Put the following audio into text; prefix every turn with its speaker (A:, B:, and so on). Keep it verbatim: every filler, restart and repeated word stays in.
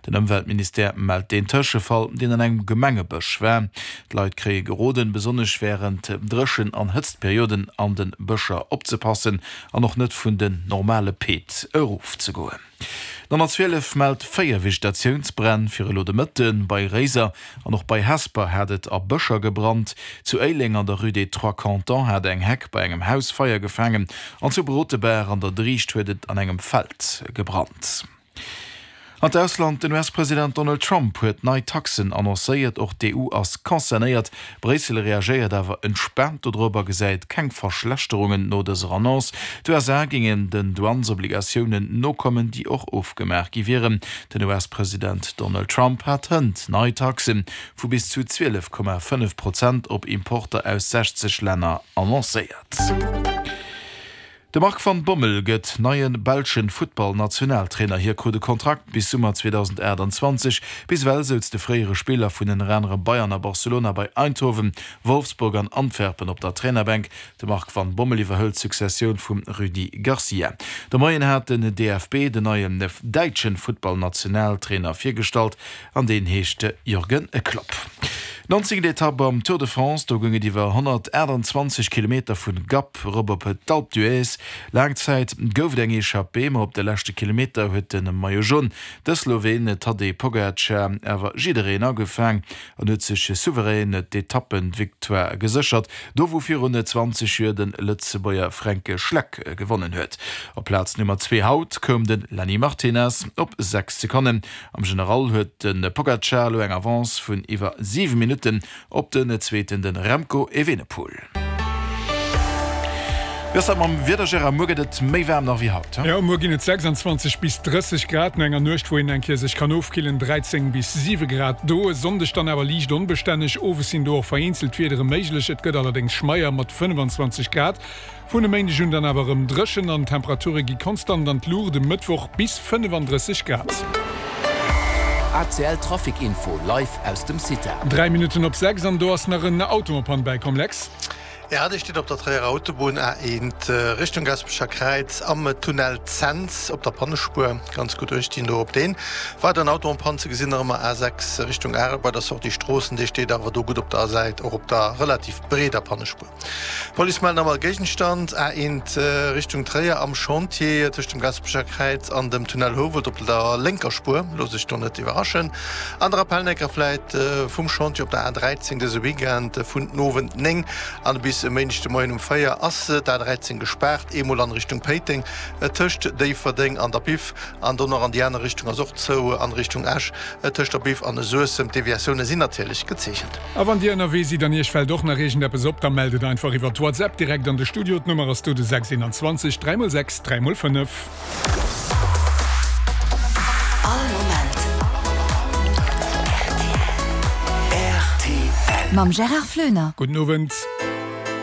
A: Den Ëmweltministère mellt deen Tëschefall, deen an engem Gemengebësch war. D'Leit kréie geroden, besonnesch wärend Dréchen an Hëtztperioden an de Bëscher opzepassen an och net vun den normale Peed erofzegoen. D'honnertzwielef mellt véier Vegetatiounsbränn fir elo de Mëtten. Bei Réiser an och bei Hesper hat et a Bëscher gebrannt. Zu Éileng an der Rue des Trois Cantons hat eng Heck bei engem Haus Feier gefaangen an zu Brotebaach an der Drischt huet et an engem Feld gebrannt. An d'Ausland, Den U S-President Donald Trump huet nei Taxen annoncéiert. Och d'E U ass concernéiert. Bréissel reagéiert awer entspaant dodrop a gesäit keng Verschlechterungen no dëser Annonce. D'U S A géingen den Douanesobligatiounen nokommen, déi och ofgemaach gi wieren. Den U S-President Donald Trump hat hënt nei Taxe vu bis zu zwielef Komma fënnef Prozent op Importer aus sechzeg Länner annoncéiert. De Marc van Bommel gëtt neie belsche Futtballnationaltrainer. Hie krut e Kontrakt bis Summer zweedausendaachtanzwanzeg. Bis ewell souz de fréiere Spiller vun ënner anerem Bayern a Barcelona bei Eindhoven, Wolfsburg an Antwerpen op der Trainerbänk. De Marc van Bommel iwwerhëlt d'Successioun vum Rudi Garcia. De Moien hat den D F B den neien däitsche Futtballnationaltrainer virgestallt an deen heescht Jürgen Klopp. Nonzéngt Etapp am Tour de France, do goung et iwwer honnertaachtanzwanzeg Kilometer vun Gap erop op d'Alpe d'Huez. Laang Zäit gouf et eng Echappée, ma op de leschte Kilometer huet de Maillot Jaune, de Sloween Tadej Pogacar, awer jiddereen agefaang an huet sech souverän d'Etappenvictoire geséchert, do wou virun zwanzeg Joer de Lëtzebuerger Fränk Schleck gewonnen huet. Op Plaz Nummer zwee haut koum de Lenny Martinez op sechs Sekonnen. Am General huet de Pogacar elo eng Avance vun iwwer siwe Minutten op den Zweeten, de Remco Evenepoel. Wéi ass dat mam Wieder, Gérard? Muer gëtt et méi waarm nach wéi haut, he?
B: Jo, muer ginn et sechsanzwanzeg bis drësseg Grad, no enger Nuecht, wou een eng Kéier sech kann ofkillen, dräizéng bis siwe Grad do. E Sonndeg dann awer liicht onbestänneg, owes sinn do och vereenzelt Wiedere méiglech, et gëtt allerdéngs schmeier mat fënnefenzwanzeg Grad. Vun e Méindeg un dann awer erëm dréchen an d'Temperature gi konstant an d'Luucht, e Mëttwoch bis fënnefandrësseg Grad.
C: A C L Trafic Info live aus dem CITA.
B: Dräi Minutten op sechs an do ass nach en Auto en panne bäikomm, Lex.
D: Ja, dee steet op der Tréierer Autobunn A eent Richtung Gaspecher Kräiz am Tunnel Cents op der Pannespuer. Ganz gutt uecht do op deen. Weideren Auto en panne ze gesinn nach ëmmer A sechs Richtung Arel bei der Sortie Stroossen, dee steet awer do gutt op der Säit, och op der relativ breeder Pannespuer. D'Police mellt nach emol Géigenstand A eent Richtung Tréier am Chantier tëscht dem Gaspecher Kräiz an dem Tunnel Houwald op der lénker Spuer. Loosst Iech do net iwwerraschen. An der Appell vläit vum Chantier op der A dräizéng dëse Weekend vun den Owend néng an bis e Méindeg de Moien um véier ass d'A dräizéng gespaart, eemol an Richtung Péiteng tëscht Déifferdeng an der Biff an do nach an déi aner Richtung ass och zou an Richtung Esch tëscht der Biff an Suessem. D'Deviatioune sinn natierlech gezeechent.
B: A wann Dir ënnerwee sidd an Iech fält och nach iergendeppes op, da mellt et einfach iwwer WhatsApp direkt an de Studio. D'Nummer ass do de sechs eenanzwanzeg dräi mol sechs dräi mol fënnef.
E: All Moment
C: R T L.
E: Mam Gérard Floener.
B: Gudden Owend.